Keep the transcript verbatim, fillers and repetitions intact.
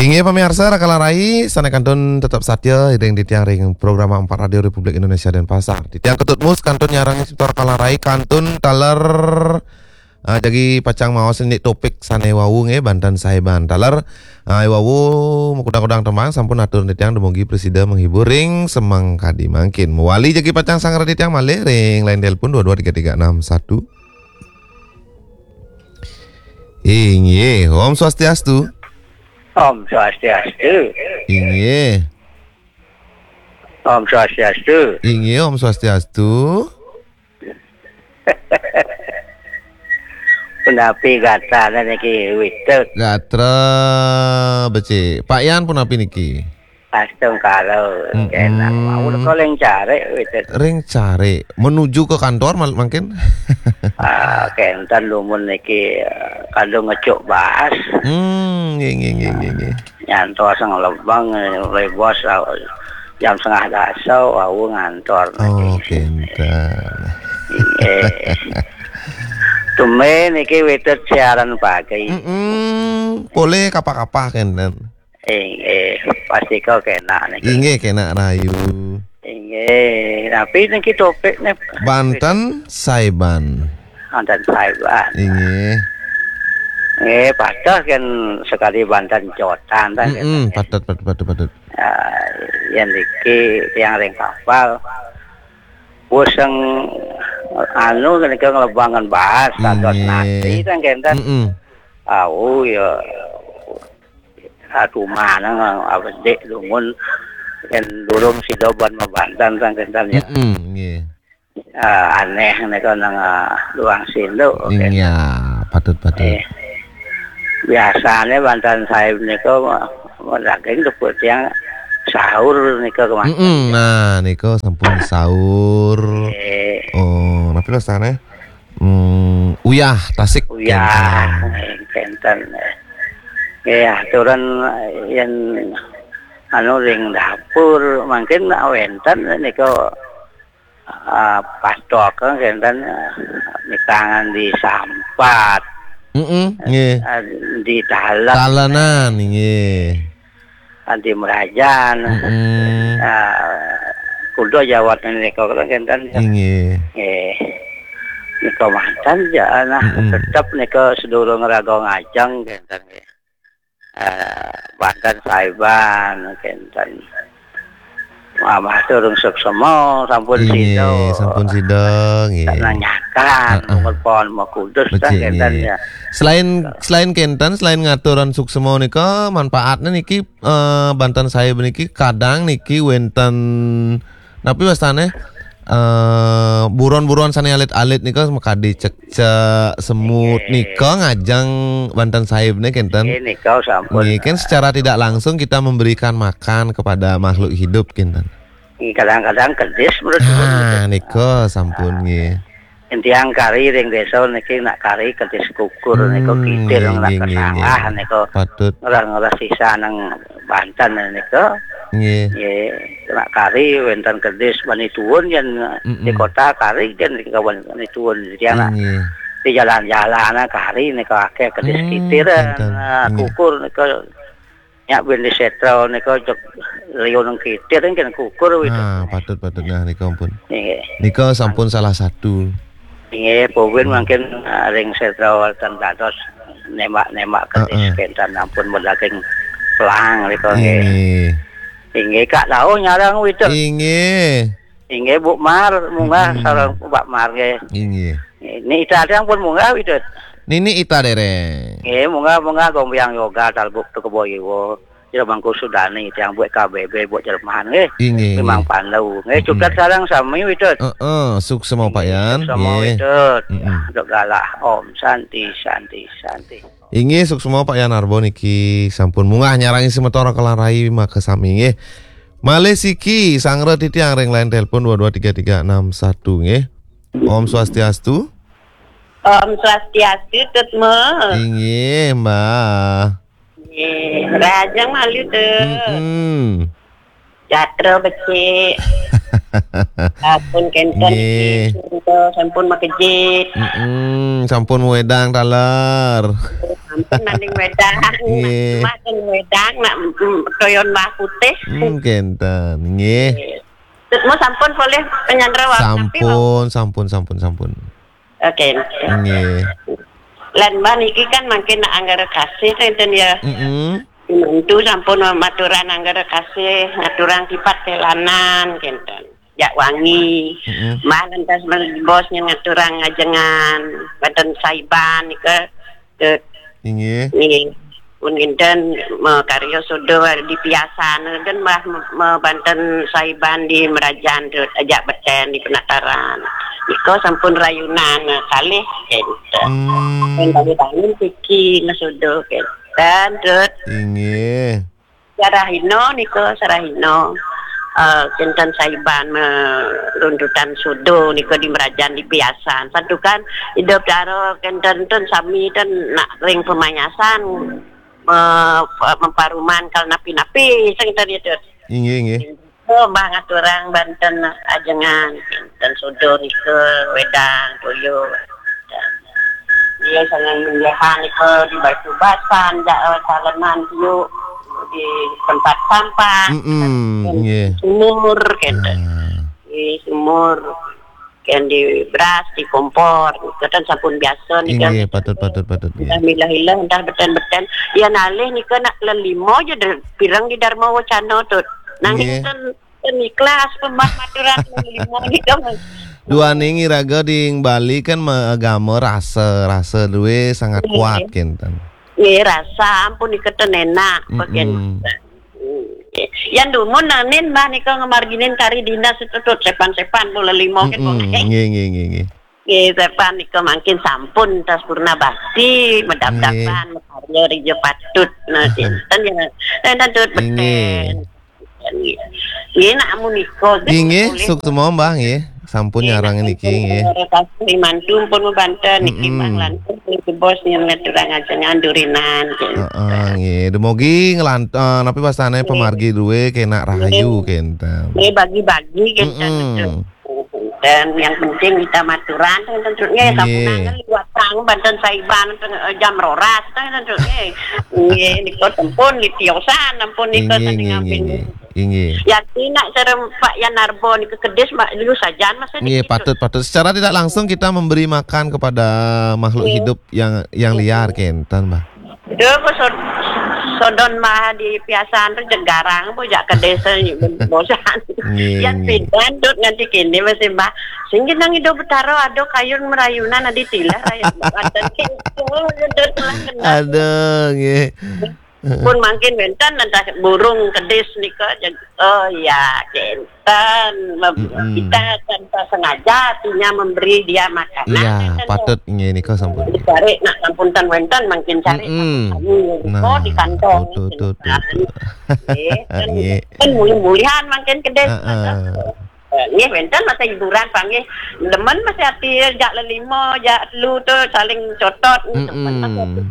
Inggih pamiarsa, Raka Larai, sané kantun tetep satia ring titiang ring program Empat Radio Republik Indonesia Denpasar. Titiang Ketut Mus kantun nyarengin semeton Raka Larai kantun taler, ah, jagi pacang maos indik topik sané wau nggih, Banten Sahiban. Taler, ah, wau makudang-kudang tembang sampun atur titiang dumugi prasida menghibur ring semeng kadi mangkin. Mawali jagi pacang sareng titiang malih ring line telepon dua dua tiga tiga enam satu. Inggih, Om Swastiastu. Om Swastiastu. Inggih. Om Swastiastu. Inggih, Om Swastiastu. Punapi gatrané niki, Witut? Gatra becik. Pak Yan punapi niki? Astungkara, mm-mm. Kénak. Wau leka ring carik, Witut. Ring carik. Menuju ke kantor mal-, mangkin? Ah, kénten dumun niki, eh, kadung ngecuk baas. Hmm, nggih, nggih, nggih, nggih, nggih. Nyantos nglebeng, eh, oleh bos, ah, jam setengah dasa, wau ngantor niki. Oh, kénten. Nggih. Tumben niki Witut siaran pagi. Mm-mm. Polih kapah-kapah kénten. Inggih, pastika kénak niki. Inggih, kénak rahayu. Inggih, tapi niki topikné Banten Sahiban. Banten Sahiban. Inggih. Nggih, patut kan sekadi Banten Cotan kan. Mm-mm, patut, patut, patut, patut. Ah, yén niki tiang ring kapal. Wus sing anu nika nglebangan baas, dados nasi kan kénten. Mm-mm. Au ya. Aduh, manang apa dik dumun yén durung sida ban mabanten sang kénten ya. Mm-mm, nggih. Ah, anéh nika nang, ah, luang sinduk. Iya, patut, patut. Eh, biasane banten sahib nika ma-, madaging tepuk tiang sahur nika kemawon. Mm-mm, nah, nika sampun sahur. Eh. Oh, napi wastane? Hmm, uyah tasik. Uyah, kénten. Eh, kénten. Nggih, aturan yén anu ring dapur mangkin wénten nika, ah, patok kénten, eh, mitangan di sampat. Mm-mm, nggih. Eh, di dalan. Dalanan, nggih. Adi Merajan. Mm-mm. Ah, kuda jawat nika kula kénten. Inggih. Nggih. Nika manten ja, nah, mm-mm, tetep nika sedurung raga ngajeng kénten nggih. Ah, banten sahiban kénten. Wah, matur suksema sampun sida. Inggih, sampun sida, nggih. Nanyakan, heeh, mungkul pohon makudus. Becik, kan kénten nggih. Ya. Selain, selain kénten, selain ngaturang suksema nika, manfaatne niki eh, banten sahib niki kadang niki wénten napi wastane? Eh, buron-buron sane alit-alit nika makadi cekcek, semut, nggih, nika ngajeng banten sahibne kénten. Nggih, nika sampun. Nggih, kan secara tidak langsung kita memberikan makan kepada makhluk hidup kénten. Nggih, kadang-kadang kedis menurut. Ah, nika sampun nggih. Tiang kari ring desa niki nak kari kedis kukur nika. Hmm, kitir nggih, nak nggih, nggih, kesangah nggih. Nika. Patut. Ngerah-ngerah sisa nang banten nika. Nggih. Nggih, nak kari wénten kedis bani tuun yén, mm-mm, di kota kari kan di kawan bani tuun. Tiang nak, nggih, di jalan-jalan kari nika akeh kedis. Hmm, kitir, kénten. Nah, nggih. Kukur nika. Nyak bin di setra nika cek liun kitir kan kukur gitu. Ah, patut, patut. Nah, nika ampun. Nggih. Nika sampun salah satu. Nggih, pupin, hmm, mangkin, ah, ring setra wonten dados nembak-nembak kedis. Heeh. Kénten ampun medaging pelang nika nggih. Nggih. Inggih, Kak Tau nyarang wédok. Inggih. Inggih, Bu Mar, munggah. Mm-mm. Sareng Pak Mar nggih. Inggih. Nini Ita tiang pun munggah wédok. Nini Ita dereng. Nggih, munggah, munggah gombyang yoga talbuk tu kebo iwo. Jero Mangku Sudani tiang buat K B B buat Jerman nggih. Inggih, memang inggih. Pandu. Nggih, mm-mm, cutet sareng sami wédok. Heeh, suksema Pak Yan. Suksema nggih. Wédok. Mm-mm. Dok galah. Om Santi, Santi, Santi. Inggih, suksema Pak Yan Arbo niki sampun munggah nyarengin semeton Raka Larai makasami nggih. Malih siki, sanggra titiang ring line telepon dua dua tiga tiga enam satu nggih. Om Swastiastu. Om Swastiastu, Tut Mus. Inggih, Mbah. Nggih, rahajeng malih, Tut. Mm-mm. Gatra becik. Sampun kénten nggih. Niki, sampun makejih. Mm-mm, sampun wédang taler. Nanding wedang, nggih, nak wedang, nak, mm, toyon bah putih. Hmm, kenten, nggih. Nggih. Tut mau sampun polih penyandra wau, tapi wau sampun, sampun, sampun, sampun. Oke. Nggih. Lan mbah niki kan mangkin nak anggara kasih, enten ya. Mm-mm. Mantu sampun maturan anggara kasih, ngaturang tipat telanan, kenten. Jak wangi. Mm-mm. Mbah lantas bos ngaturang ngajengan, badan saiban nika, ke Inggih. Nggih. Pun kinten makarya suda di piasan, kinten mbah me-, mabanten saiban di merajan tu, ajak beten di penataran. Nika sampun rayunan kalih kinten. Hmm. Pun bangun-bangun siki ngasuda kinten, Dut. Inggih. Sarahina nika, sarahina, eh, kinten saiban meruntutan suda nika di merajan di piasan. Santukan Ida Betara kinten ten sami ten nak ring pemayasan, me-, memparuman kal napi-napi sing tadi tu. Inggih, inggih. Oh, mbah ngaturang banten ajengan, kinten suda nika, wedang, toyo. Iya, sangat menjahan nika di batu basan, ja-, eh, salenan tiuk di tempat sampah. Mm-mm, nggih. Sumur, kinten. Ah. Di sumur, kan di beras, di kompor, kinten sampun biasa nika. Inggih, patut, patut, patut, nggih. Dah milah-ilah, dah beten-beten. Ya nalih nika nak lelima je de-, pireng di Dharma Wacana tu. Nang nggih. Kinten Ten ikhlas pemah maturan lima nika, Mas. Duaning iraga di Bali kan ma-, agama rasa, rasa duwe sangat kuat, nggih, kinten. Nggih, rasa ampun nika ten enak, mm-mm, kinten. Yan dumun nanin mbah nika ngamarginin kari dinas itu tut sepan-sepan bola lima kan, mm-mm, nggih, nggih, nggih, nggih. Nggih, sepan nika mangkin sampun tas purna bakti, medap-dapan, nggih, makarya rija patut. Nah, kinten ya. Ten tut, nggih, beten. Nggih, nak amun nika, nggih, inggih, boleh. Suksma, Mbah, nggih. Sampun, nggih, nyarang niki, nggih. Terima kasih, mantu pun membantu niki, mm-mm, Mbah, lantas niki bos yang ngaturang ajengan durinan, nggih. Heeh, nggih. Dumogi ngelant-, eh, napi wastane, nggih, pamargi duwe kenak rahayu, nggih, kinten. Nggih, bagi-bagi, kinten, mm-mm, betul. Dan yang penting kita maturan, ten tut, nggih, nggih, sampunangan liwat tang, banten saiban, ten, eh, jam roras, ten tut, nggih. Nggih, nika tempun, nggih, tiosan, ampun, nika, nggih, sanding nggih, nggih, nggih. Inggih. Yati nak sareng Pak Yan Narbo nika kedis, Mak, dulu sajan masa nggih, dikit. Patut, patut. Secara tidak langsung kita memberi makan kepada makhluk, nggih, hidup yang, yang, nggih, liar, kinten, Mbah. Duh, ku sod-, sodon mah di piasan tu jegarang, bu, jak ke desa ni, bosan. Nggih, yan nggih. Pidan, Dut, nganti kini masih, Mbah. Sing jenang Ida Betara ada kayun merayunan, adi tilah rakyat Banten. Oh, Dut, lah kenal. Aduh, nggih. Pun mangkin wenten entah burung kedis nika, jeg-, oh ya, kinten. Mem-, mm-mm, kita tanpa sengaja artinya memberi dia makanan, iya, kinten, patut nggih nika sampun. Dicari nak sampun ten wenten mangkin cari, mm-mm, sampun kami, nah, di kantong, tuh, tuh, tuh, kinten, tuh, tuh. Nggih, kan, nggih, kan mulih-mulihan mangkin kedis. Heeh. Eh, nggih, wenten masa hiburan, panggih. Demen masa ati jak lelima, jak telu tu saling cotot, mm-mm, demen masa ati.